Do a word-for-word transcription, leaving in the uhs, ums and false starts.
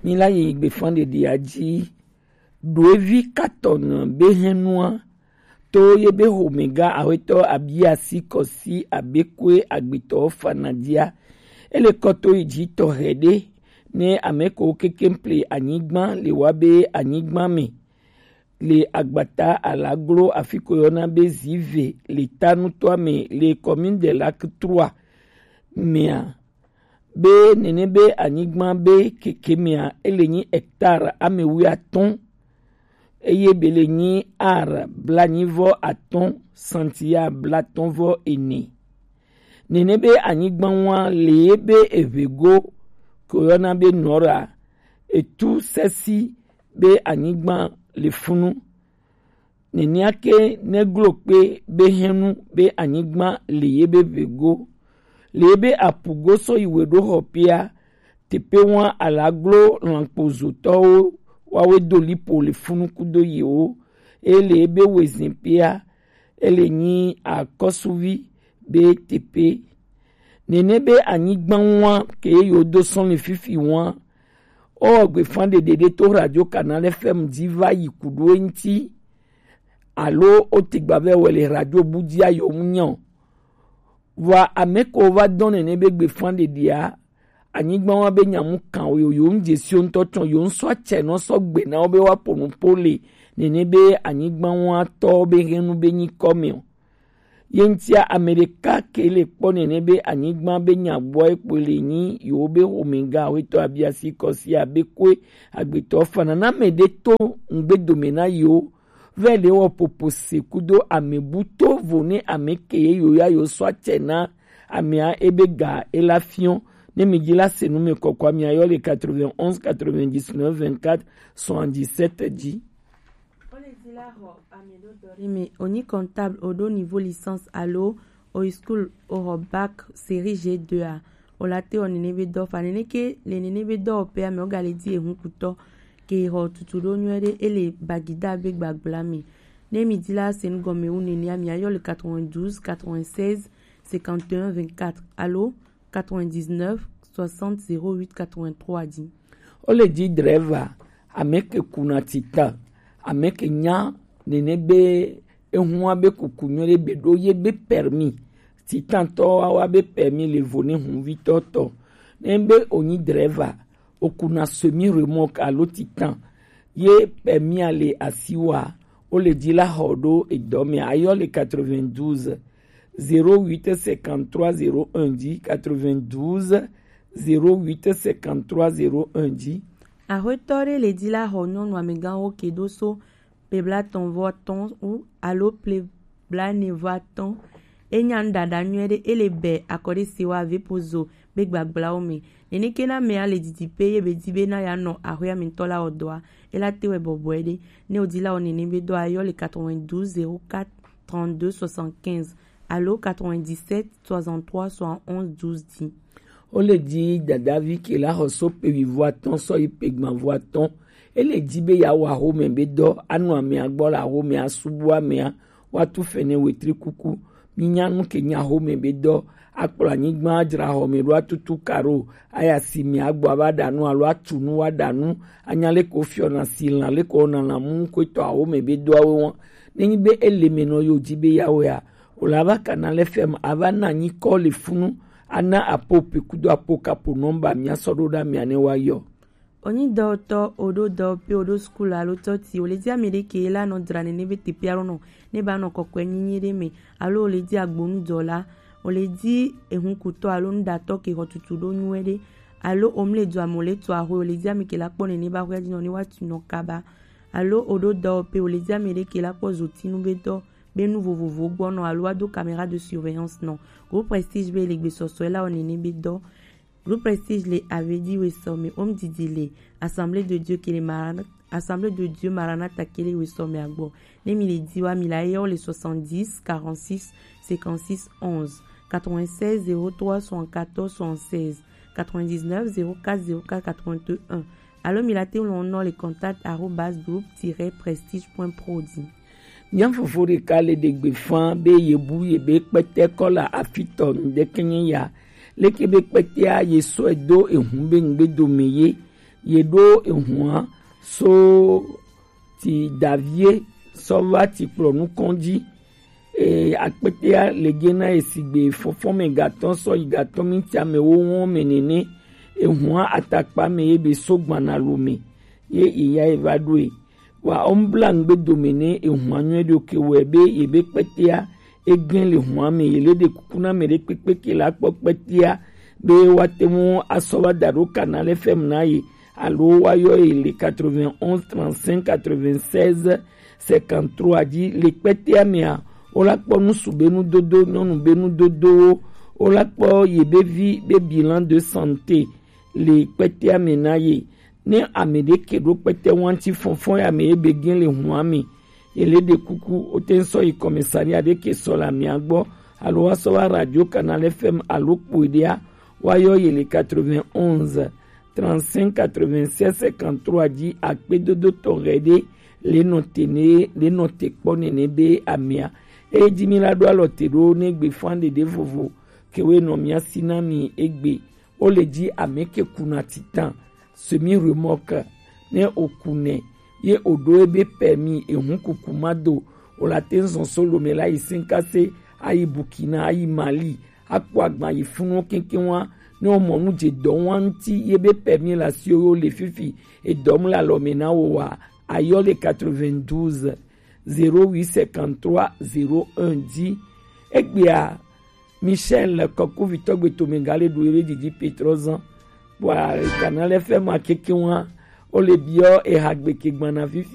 Ni la yi gbefan ɖeɖi aji. Ɖoevi katɔn be hɛnua to ye be homega ahwetɔ abiasi kɔsi abekwe agbetɔ fanadia. Ele kɔto yi ji tɔhɛ ɖe ne ameko kekeŋ ple anyigba le wa be anyigba me le agbata alaglo afi ko yɔna be zive le tanutɔa me le commune de lac trois mea be nene be anyigba be keke mea ele nyi hectare ame wuiatɔ̃ eye be le nyi ar blanyivɔ atɔ̃ santia blatɔ̃ vɔ ene. Nene be anyigba wa le ye be eʋego ko yɔna be nɔra etu sesi be anyigba le funu. Nenea ke neglo kpe be hɛnu be anyigba le ye be ʋego, le ye be apugo sɔ yi we ɖo xɔ pia, teƒe wa alaglo lankpozotɔwo wawe do lipo le funu kudo yewo, eye le ye be wezin pia, ele nyi akɔsuvi be teƒe. Nene be anyigba wa ke ye yewo do sɔn le fifi wa, owɔ gbefan ɖeɖe ɖe to Radio Canal F M ji va yi ku ɖo eŋti, alo o te gba vɛ wɛ le radio bu ji ayo mu nya o. Vɔa ame ko va dɔn nene be gbefan ɖeɖea, anyigba wa be nyamu kan o yo yo ŋ je si o ŋutɔ tsɔ yo ŋ sɔ atsɛ nɔ sɔ gbe na wo be wa po nu po le nene be anyigba wa tɔ be hɛnu be nyi kɔ me o. Ye ŋtia ame ɖeka ke le kpɔ nene be anyigba be nya gbɔ ekpɔe le nyi yewo be xomega awetɔ abiasi kɔsi abe koe agbetɔ fana na ame ɖe to ŋgbe dome na yewo. Vɛ le wɔ popo se kudo ame bu to vo ne ame ke ye yo ya yo sɔ atsɛ na amea ebe ga ela fiɔ. Ne mi ji la se nu me kɔkɔ amea yɔ le quatre-vingt-onze quatre-vingt-dix-neuf vingt-quatre soixante-dix-sept ji. Wo le di la xɔ ame ɖo dɔ ɖe me, o nyi comptable, o ɖo niveau licence alo o yi school o xɔ bac série G deux a, o la te wɔ nene be dɔ fa nene ke le nene be dɔ wɔ pɛ ame o ga le di ehun kutɔ ke xɔ tutu ɖo nyuie ɖe e le bagida be gbagbla me. Ne mi di la se nu gɔme wu nene amea yɔ le quatre-vingt-douze quatre-vingt-seize cinquante et un vingt-quatre alo quatre-vingt-dix-neuf soixante zéro huit quatre-vingt-trois di. Wo le di driver, ame ke kuna titan, ame ke nya nene be ehun wa be kuku nyuie ɖe be ɖo ye be permis. Titantɔ wa wa be permis le vo ne hunvitɔ tɔ. Ne be o nyi driver, o kuna semi remorque alo titan ye permis a le asi wa, o le di la xɔ ɖo edɔ me ayɔ le quatre-vingt-douze zéro huit cinquante-trois zéro un di, quatre-vingt-douze zéro huit cinquante-trois zéro un di. Axwetɔ ɖe le di la xɔ nyɔnu amegawo ke ɖo so ple blatɔ̃ vɔ atɔ̃ wu alo ple blaene vɔ atɔ̃. E nya nu ɖaɖa nyuie ɖe, e le bɛ akɔ ɖe se wa ve pozo be gbagblawo me. Nene ke na mea le didi pe ye be di be na ya nɔ axwea me ŋutɔ la wɔ dɔa, e la te wɛ bɔbɔe ɖe. Ne o di la wɔ nene be dɔa, yɔ le quatre-vingt-douze zéro quatre trente-deux soixante-quinze alo quatre-vingt-dix-sept soixante-trois soixante-onze douze di. Wo le di dadavi ke la xɔ so pe wivɔ atɔ̃ sɔ yi pe gbanvɔ atɔ̃. E le di be ya wɔ axome be dɔ, anu amea gbɔ le axome, asubu amea, wa tu fɛnɛ wetri kuku. Mi nya nu ke nya axome be dɔ, akplɔ anyigba, adzra xɔme ɖo, atutu karo, aya si me agbɔ ava ɖa nu alo atu nu wa ɖa nu, anya le ko fiɔ na si lan le ko na lan mu ko to axome be dɔawo wa. Ne nyi be ele me nɔ yo di be ya wɔ ya, o la va kana le fɛm ava na nyi kɔ le funu, ana apo pe kudo apo kapo nɔmba mia sɔ ɖo ɖa mia ne wa yɔ. O nyi dɔwɔtɔ, o ɖo dɔwɔƒe, o ɖo sukulu alo tɔti, o le di ame ɖe ke la nɔ dzra nene be teƒe alo nɔ ne ba nɔ kɔkɔe nyinyi ɖe me, alo o le di agbonudɔla, o le di ehunkutɔ alo nuɖatɔ ke xɔ tutu ɖo nyuie ɖe, alo o mle dua me o le tu axwe, o le di ame ke la kpɔ nene ba axwea dzi nɔ ne wa tu nɔ kaba, alo o ɖo dɔwɔƒe, o le di ame ɖe ke la kpɔ zotinu be dɔ be nu vovovowo gbɔ nɔ alo wa do caméra de surveillance nɔ. Groupe Prestige be le gbesɔsɔe la wɔ nene be dɔ. Groupe Prestige le Avedi wesɔ me, o mu didi le Assemblée de Dieu ke le Maran-, Assemblée de Dieu Maranatha ke le wesɔ me agbɔ. Ne mi le di wa, mi la yɔ le soixante-dix quarante-six cinquante-six onze, quatre-vingt-seize zéro trois soixante-quatorze soixante-seize, quatre-vingt-dix-neuf zéro quatre zéro quatre quatre-vingt-un. Alo mi la te ŋlɔ nɔ le contact arobase groupe tiret prestige point pro di. Mia fofo ɖeka le ɖe gbe fã be ye bu ye be kpɛtɛ kɔ le afi tɔ ŋdɛkɛ nye ya. Leke be kpɛtɛa ye sɔe do ehun be ŋgbe dome ye. ye ɖo ehua so ti davie sɔ va ti kplɔ nukɔn ji. E, akpetea le ge na ye sigbe fɔfɔme gatɔ sɔ yi gatɔ mi ti ame wo wɔn me nene. Ehua atakpa me ye be so gbana lo me ye iya ye va ɖo e. Wa ɔmbla ŋgbe dome ne ehua nyuie ɖo ke wɛ be ye be kpetea eglen le hua me. Ye le ɖe kuku na me ɖe kpekpe ke la kpɔ kpetea be wa te mu asɔ va da ɖo Canal F M na ye alo wa yɔ ye le quatre-vingt-onze trente-cinq quatre-vingt-seize cinquante-trois ji. Le kpetea mea, wo la kpɔ nusu be nudodo, nyɔnu be nudodowo, wo la kpɔ ye be vi be bilan de santé le kpetea me na ye. Ne ame ɖe ke ɖo kpete wanti fɔnfɔn ya me ye be gen le hua me, ye le ɖe kuku o te sɔ yi commissariat ɖe ke sɔ le amia gbɔ alo wa sɔ va Radio Canal F M alo kpoe ɖea, wa yɔ ye le quatre-vingt-onze trente-cinq quatre-vingt-seize cinquante-trois ji. Akpedodo tɔxɛ ɖe le nɔ te ne le nɔ te kpɔ nene be amia. Eye ji mi la ɖo alɔ te ɖo ne gbe fan ɖeɖe vovo ke we nɔ mia si na mi egbe. O le ji ame ke kuna titan semi remorque ne o kunɛ ye o ɖo ebe permis ehun kuku ma do, o la te zɔn so lome la yi sinkase, ayi Burkina, ayi Mali, akpɔ agban yi funu keŋkeŋ wa. Ne o mɔ nu je dɔ wa ŋuti ye be permis la si o yo le fifi edɔm le alɔme na wo wa, ayɔ le quatre-vingt-douze zéro huit cinquante-trois zéro un ji. Egbea Michel Kɔkuvitɔ gbe tome ga le ɖu ebe didi Petrozan. Bua Canal F M a keke wa o le biɔ eha gbe ke gbana fifi.